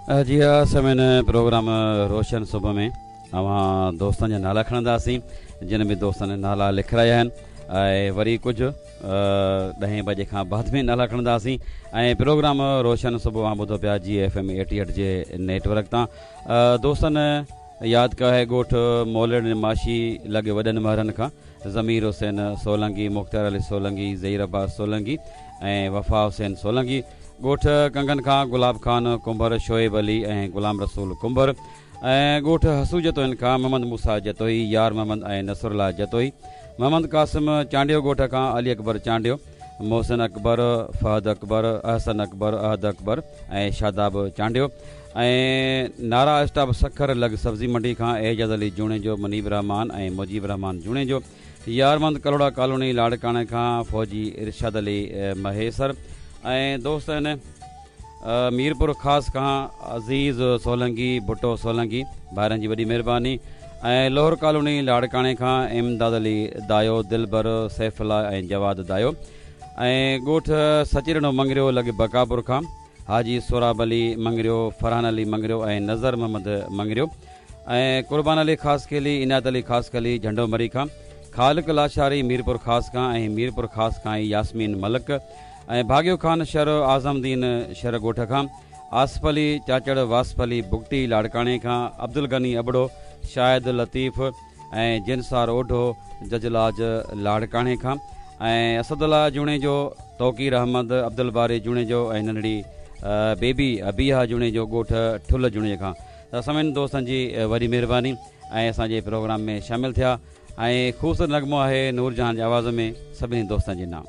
جي ها سامعين پروگرام روشن صبح ۾ اوهان دوستن جا نالا کڻنداسين جن به دوستن نالا لکرايا آهن ۽ وري ڪجهه ڏهين بجي کان بعد ۾ نالا کڻنداسين ۽ پروگرام روشن صبح اوهان ٻڌو پيا جي ايف ايم 88 جي نيٽ ورڪ تان دوستن ياد ڪيو آهي ڳوٺ مولڙ ماشي لڳ وڏن مهرن کان ضمير حسين سولنگي، مختيار علي سولنگي، ظهير عباس سولنگي ۽ وفا حسين سولنگي، ڳوٺ ڪنگن کان گلاب خان ڪنڀر، شعيب علي ۽ غلام رسول ڪنڀر ۽ ڳوٺ حسو جتوئين کان محمد موسيٰ جتوئي، يار محمد ۽ نصرالله جتوئي، محمد قاسم چانڊيو ڳوٺ کان علي اڪبر چانڊيو، محسن اڪبر، فهد اڪبر، احسن اڪبر، احد اڪبر ۽ شاداب چانڊيو ۽ نارا اسٽاپ سکر لڳ سبزي منڊي کان اعجاز علي جوڻيجو، منيب الرحمان ۽ مجيب الرحمان جوڻيجو، يارمند ڪلهوڙا ڪالوني لاڙڪاڻي کان فوجي ارشاد علي مهيسر ۽ دوست آهن ميرپور خاص کان عزيز سولنگي، ڀٽو سولنگي ڀائرن جي وڏي مهرباني ۽ لوهر ڪالوني لاڙڪاڻي کان امداد علي دايو، دلبر، سيف الله ۽ جواد دايو ۽ ڳوٺ سچيڏنو مڱريو لڳ بقاپور کان حاجي سهراب علي مڱريو، فرحان علي مڱريو ۽ نظر محمد مڱريو ۽ قربان علي خاصخيلي، عنايت علي خاصخيلي جهنڊو مري کان، خالق لاشاري ميرپور خاص کان ۽ ميرپور خاص کان ئي ياسمين ملڪ ۽ ڀاڳيو خان شر اعظم الدين شر ڳوٺ کان، آصف علي چاچڙ واصف علي بگٽي لاڙڪاڻي کان، عبدالغني ابڙو، شاهد لطيف ۽ جنسار اوڍو ججلاج لاڙڪاڻي کان ۽ اسدالله جوڻيجو، توقير احمد، عبدالباري جوڻيجو ۽ ننڍڙي بيبي ابيها جوڻيجو ڳوٺ ٺل جوڻيجي کان ته سڀني دوستن جي وڏي مهرباني ۽ اسان جي پروگرام ۾ شامل ٿيا ۽ خوبصورت نغمو آهي نورجهان جي آواز ۾ سڀني دوستن جي نام.